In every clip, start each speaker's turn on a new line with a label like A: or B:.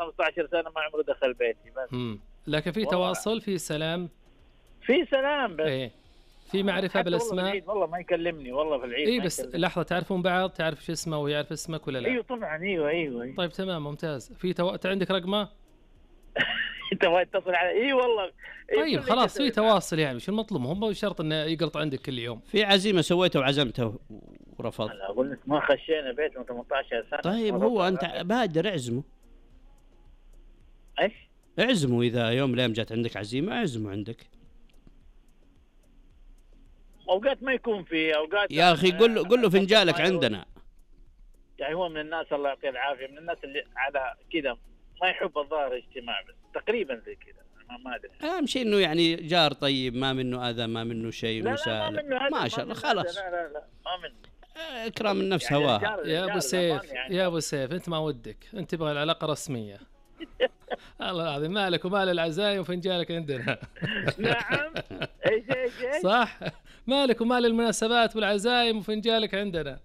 A: 15 سنة ما عمره دخل بيتي بس.
B: لكن في تواصل، في سلام،
A: في سلام بس.
B: ايه في معرفة بالاسماء.
A: والله ما يكلمني والله في العيد.
B: ايه بس لحظة، تعرفون بعض؟ تعرف شو اسمه ويعرف اسمك ولا لا؟
A: ايوه طبعا. ايوه.
B: طيب تمام ممتاز. في عندك رقمه؟
A: تبغى تتصل على والله.
B: طيب خلاص في تواصل يعني، شو المطلوب؟ هم شرط انه يقلط عندك كل يوم.
C: في عزيمة سويته وعزمته ورفض.
A: انا اقول لك ما خشينا بيت من 18 سنة.
C: طيب هو انت بادر اعزمه.
A: ايش؟
C: اعزمه اذا يوم ليم جات عندك عزيمة اعزمه عندك.
A: اوقات ما يكون في اوقات
C: يا اخي قل له فنجالك عندنا.
A: يعني هو من الناس الله يعطيه العافيه، من الناس اللي على كذا ما يحب الظاهر اجتماع، بس تقريبا زي كذا ما ادري.
C: اهم شيء انه يعني جار طيب، ما منه اذى، ما منه شيء مسالم، ما شاء الله خلاص.
A: لا ما منه.
C: اكرام النفس هواها.
B: يا ابو سيف يعني. يا ابو سيف انت ما ودك، انت تبغى العلاقه رسميه. الله العظيم مالك ومال العزايم وفنجالك عندنا.
A: نعم. ايش
B: صح، مالك ومال المناسبات والعزايم وفنجالك عندنا.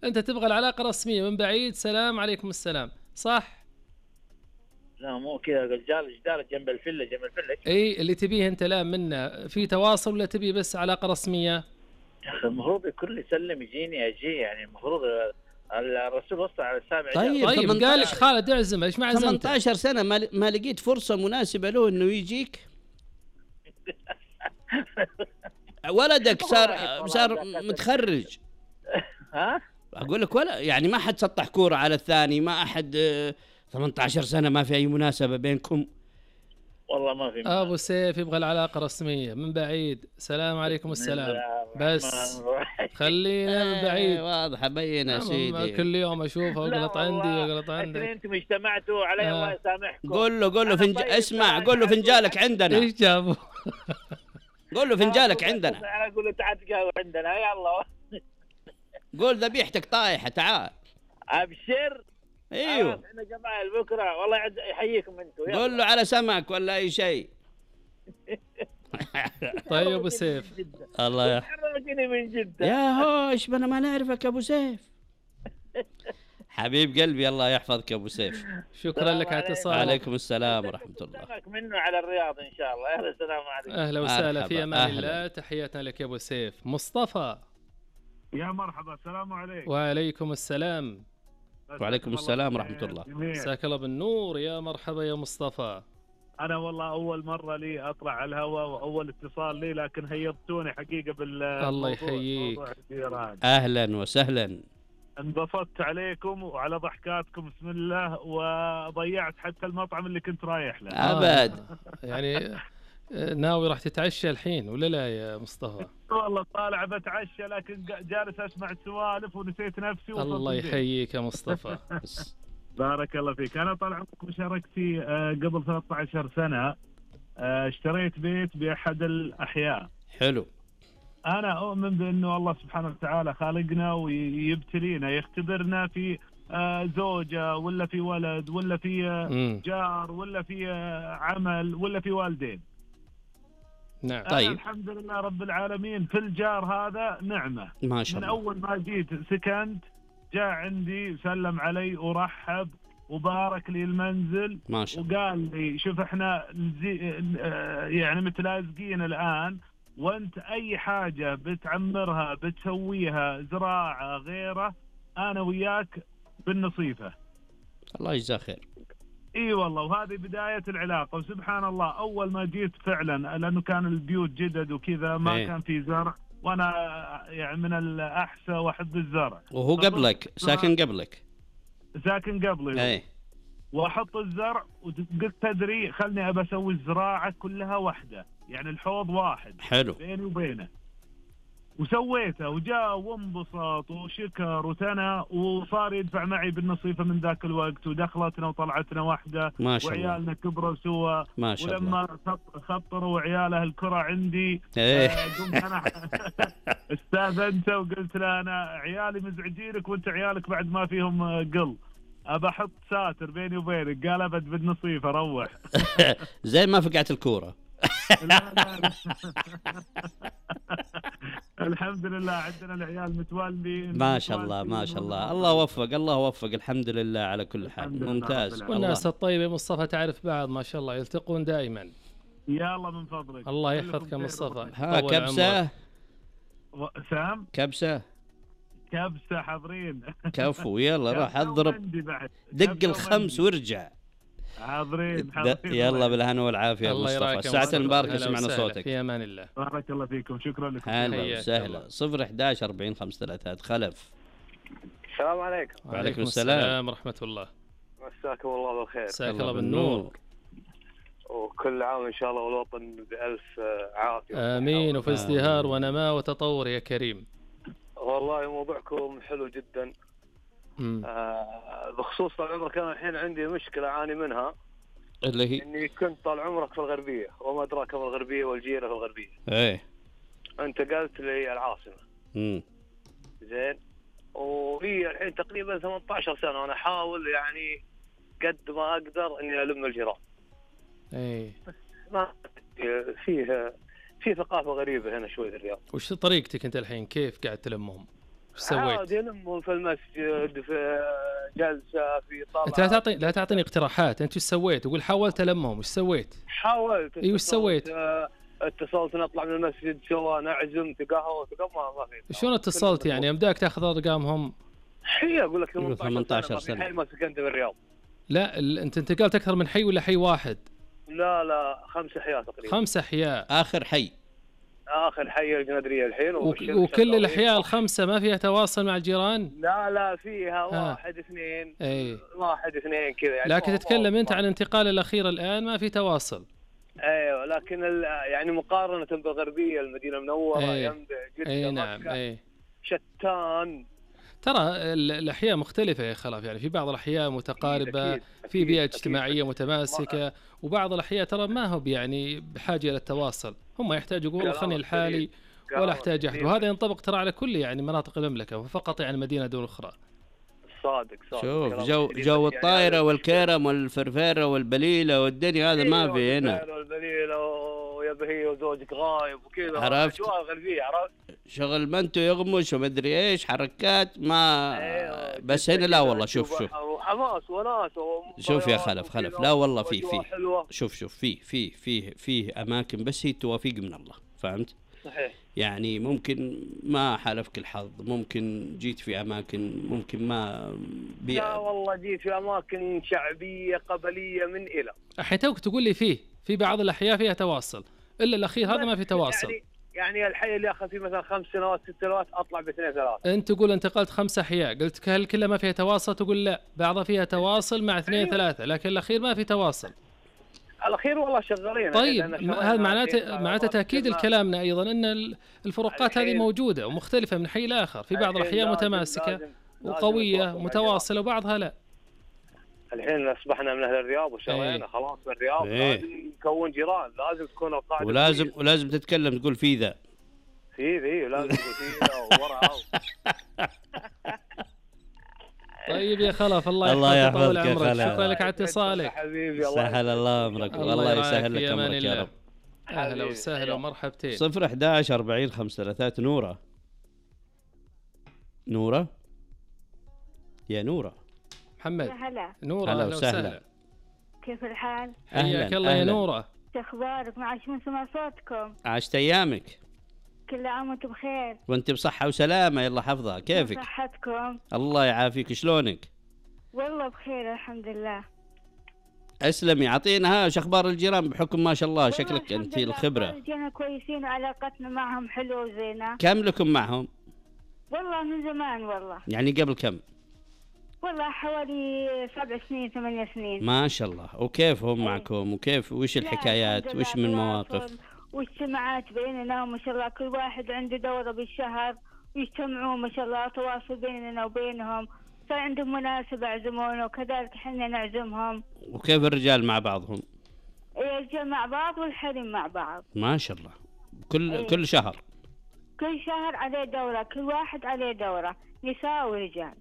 B: انت تبغى العلاقه رسميه من بعيد، سلام عليكم السلام، صح؟
A: لا مو كذا، جدار جنب الفله
B: اي اللي تبيه انت. لا منا في تواصل ولا تبي بس علاقه رسميه؟
A: المفروض كل يسلم يجيني اجي، يعني المفروض الرسول وصى على السابع.
C: طيب
B: قال لك خالد اعزم، ايش ما عزمت؟
C: 18 سنه ما لقيت فرصه مناسبه له انه يجيك. ولدك صار متخرج.
A: ها
C: اقول لك ولا يعني ما حد سطح كوره على الثاني، ما احد 18 سنه ما في اي مناسبه بينكم.
A: والله ما في.
B: ابو سيف يبغى العلاقه رسميه من بعيد، سلام عليكم السلام، بس خلينا من بعيد.
C: واضحه بينه سيدي،
B: كل يوم اشوفه وغلط عندي وغلط عندك.
A: انتم اجتمعتوا علي الله يسامحكم.
C: قول له اسمع، قول له فنجالك عندنا.
B: ايش جابوا؟
C: قول له فنجالك عندنا.
A: انا اقول له تعال تقهوى عندنا يلا.
C: قول ذبيحتك طايحه تعال.
A: ابشر.
C: ايوه
A: احنا جماعه بكره والله يحييكم انتم.
C: قول له على سمك ولا اي شيء.
B: طيب ابو سيف
C: الله
A: يحرجني من جدة.
C: يا هوش انا ما نعرفك ابو سيف. حبيب قلبي الله يحفظك ابو سيف.
B: شكرا لك على اتصالك.
C: وعليكم السلام ورحمه الله.
A: منه على الرياض ان شاء الله. اهلا السلام عليكم.
B: اهلا وسهلا في امان الله. تحياتنا لك يا ابو سيف. مصطفى
D: يا مرحبا. السلام عليكم.
B: وعليكم السلام.
C: وعليكم السلام ورحمة الله.
B: مساك الله بالنور. يا مرحبا يا مصطفى.
D: أنا والله أول مرة لي أطلع على الهواء وأول اتصال لي، لكن هيضتوني حقيقة
B: الله يحييك.
C: أهلا وسهلا.
D: انبسطت عليكم وعلى ضحكاتكم بسم الله، وضيعت حتى المطعم اللي كنت رايح له.
C: أبد.
B: يعني ناوي راح تتعشى الحين ولا لا يا مصطفى؟
D: والله طالع بتعشى لكن جالس أسمع السوالف ونسيت نفسي.
B: الله يحييك يا مصطفى.
D: بارك الله فيك. أنا طال عمرك مشاركتي قبل 13 سنة اشتريت بيت بأحد الأحياء.
C: حلو.
D: أنا أؤمن بأنه الله سبحانه وتعالى خالقنا ويبتلينا، يختبرنا في زوجة ولا في ولد ولا في جار ولا في عمل ولا في والدين.
B: نعم.
C: طيب
D: الحمد لله رب العالمين في الجار هذا نعمة
C: ما شاء الله.
D: من أول ما جيت سكنت جاء عندي سلم علي ورحب وبارك لي المنزل
C: ما شاء الله.
D: وقال لي شوف احنا يعني متلازقين الآن، وانت اي حاجة بتعمرها بتسويها زراعة غيره انا وياك بالنصيفة.
C: الله يجزاه خير.
D: اي والله. وهذه بداية العلاقة. وسبحان الله اول ما جيت فعلا لانه كان البيوت جدد وكذا ما كان في زرع، وانا يعني من الاحسى واحب الزرع.
C: وهو قبلك ساكن قبلي.
D: اي. واحط الزرع وقلت تدري خلني ابى اسوي الزراعة كلها واحدة، يعني الحوض واحد.
C: حلو.
D: بيني وبينه. وسويته وجاء وانبسط وشكر وثنى وصار يدفع معي بالنصيفة من ذاك الوقت، ودخلتنا وطلعتنا واحدة.
C: ما شاء الله.
D: وعيالنا كبروا سوا.
C: ما شاء
D: ولما خطروا عياله الكرة عندي قمت أنا استاذنته وقلت له أنا عيالي مزعجينك وانت عيالك بعد ما فيهم قل، أبى أحط ساتر بيني وبينك. قال أبد بالنصيفة روح.
C: زي ما فقعت الكورة.
D: الحمد لله عندنا العيال متوالدين
C: ما شاء الله ما شاء الله، الله وفق الله وفق، الحمد لله على كل حال، ممتاز.
B: والناس الطيبة مصطفى تعرف بعض ما شاء الله، يلتقون دائما.
D: يلا من فضلك
B: الله يحفظك يا مصطفى.
C: ها كبسة
D: سام،
C: كبسة
D: حاضرين.
C: كفو يلا راح اضرب دق الخمس وارجع.
D: حاضرين
C: يلا بالهنا والعافيه يا مصطفى، الساعة المباركة سمعنا صوتك.
B: في امان الله.
D: بارك الله فيكم، شكرا لكم.
C: هلا وسهلا. 011 40 53 خلف.
E: السلام عليكم.
C: وعليكم السلام
B: ورحمة الله.
E: مساكم الله بالخير.
B: مساك الله بالنور.
E: وكل عام إن شاء الله والوطن بألف عافية.
B: آمين، وفي ازدهار ونماء وتطور يا كريم.
E: والله موضوعكم حلو جدا. بخصوص طال عمرك أنا الحين عندي مشكلة أعاني منها،
C: اللي هي
E: إني كنت طال عمرك في الغربية وما أدراك ما الغربية والجيرة في الغربية.
C: إيه.
E: انتقلت للعاصمة. زين. وهي الحين تقريبا 18 سنة وأنا أحاول يعني قد ما أقدر إني ألم الجيران.
B: إيه.
E: ما في ثقافة غريبة هنا شوي في الرياض.
B: وش طريقتك أنت الحين؟ كيف قاعد تلمهم؟ وش سويت؟
E: عادي ألمهم في المسجد، في جلسة، في طلعة.
B: أنت لا تعطيني اقتراحات، أنت وش سويت؟ وقول حاولت ألمهم، وش سويت؟
E: حاولت.
B: إيه وش سويت؟
E: اتصلت نطلع من المسجد سوا، نعزم في قهوة ما في.
B: شلون اتصلت يعني؟ أمداك تاخذ أرقامهم؟
E: هي أقول لك
C: 18 سنة.
E: حي ما سكنت بالرياض.
B: لا أنت انتقلت أكثر من حي ولا حي واحد؟
E: لا 5 أحياء تقريبا.
B: 5 أحياء.
C: آخر
E: حي الجندرية الحين.
B: وكل الأحياء ال5 ما فيها تواصل مع الجيران؟
E: لا فيها 1 2.
B: أي
E: 1 2 كذا يعني.
B: لكن تتكلم أنت عن الانتقال الأخير الآن ما في تواصل.
E: ايوه لكن يعني مقارنة بالغربية المدينة المنورة ينبع جدا.
B: اي نعم. اي
E: شتان.
B: ترى الأحياء مختلفة يا خلاف، يعني في بعض الأحياء متقاربة، في بيئة اجتماعية متماسكة، وبعض الأحياء ترى ما هو يعني بحاجة إلى التواصل، هم يحتاجوا يقولوا خلني لحالي ولا أحتاج أحد، وهذا ينطبق ترى على كل يعني مناطق المملكة، فقط يعني مدينة دون أخرى.
E: صادق.
C: شوف جو الطايرة والكرم والفرفرة والبليلة والدنيا هذا ما في هنا.
E: والبليلة ويبهي وزوجك غايب وكذا.
C: عرفت؟
E: أجواء غربية. عرفت؟
C: شغل منتو يغمش ومدري ايش حركات ما بس هنا لا والله. شوف
E: حماس وناس
C: شوف يا خلف لا والله في شوف في اماكن بس هي توافيق من الله، فهمت؟
E: صحيح.
C: يعني ممكن ما حالفك الحظ، ممكن جيت في اماكن، ممكن ما
E: لا والله جيت في اماكن شعبيه قبليه من الى.
B: الحين توك تقول لي في بعض الاحياء فيها تواصل، الا الاخير هذا ما في تواصل.
E: يعني الحي اللي اخذ فيه مثلا 5 سنوات 6 سنوات اطلع ب2 3.
B: انت تقول انتقلت 5 احياء، قلت هل كلها ما فيها تواصل؟ تقول لا، بعضها فيها تواصل مع 2 3، لكن الاخير ما في تواصل.
E: الاخير والله شغالين.
B: طيب هذا معناته تاكيد لكلامنا ايضا ان الفروقات هذه موجوده ومختلفه من حي لاخر، في بعض الاحياء متماسكه وقويه متواصله وبعضها لا.
E: الحين اصبحنا من اهل الرياض وشرينا خلاص بالرياض. لازم نكون جيران، لازم تكون القاعده
C: ولازم تتكلم تقول في ذا
E: لازم تقول في ذا وورا.
B: طيب يا خلف الله يحفظك يا خلف، شكرا لك على اتصالك
E: حبيبي.
C: سهل الله امرك والله يسهل لك امرك يا رب.
B: اهلا وسهلا ومرحبتين.
C: 011 40 53 نورة يا نورة.
B: محمد.
F: هلا
B: نورة.
C: هلا وسهلا.
F: كيف الحال؟
B: حياك الله يا نورة.
F: شو اخبارك؟ ما عاش من سمع صوتكم.
C: عاشت ايامك.
F: كل عام وانتم بخير.
C: وانت بصحة وسلامة، يلا حفظها. كيفك؟
F: صحتكم؟
C: الله يعافيك. شلونك؟
F: والله بخير الحمد لله.
C: اسلمي. اعطينا وش اخبار الجيران بحكم ما شاء الله شكلك انت الخبرة.
F: الجيران كويسين وعلاقتنا معهم حلوة وزينة.
C: كم لكم معهم؟
F: والله من زمان والله.
C: يعني قبل كم؟
F: والله حوالي 7 سنين 8 سنين.
C: ما شاء الله. وكيف هم معكم؟ وكيف وش الحكايات؟ وش من مواقف؟
F: واجتماعات بيننا وما شاء الله كل واحد عنده دورة بالشهر ويجتمعون ما شاء الله، تواصل بيننا وبينهم، صار عندهم مناسبة يعزمونا وكذلك احنا نعزمهم.
C: وكيف الرجال مع بعضهم؟
F: الرجال مع بعض والحريم مع بعض.
C: ما شاء الله. كل شهر
F: عليه دورة، كل واحد عليه دورة، نساء ورجال.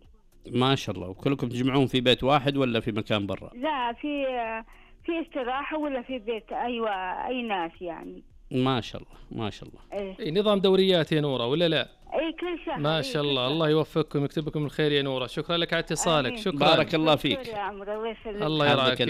C: ما شاء الله. وكلكم تجمعون في بيت واحد ولا في مكان برا؟
F: لا في استراحة ولا في بيت أي ناس يعني.
C: ما شاء الله ما شاء الله.
F: إيه.
B: نظام دوريات يا نورة ولا لا؟
F: اي كل شهر.
B: ما شاء الله. الله يوفقكم ويكتب لكم الخير يا نورة. شكرا لك على اتصالك. شكرا.
C: بارك الله فيك.
F: يا عمرو الله يسلمك.
B: الله يرعاك.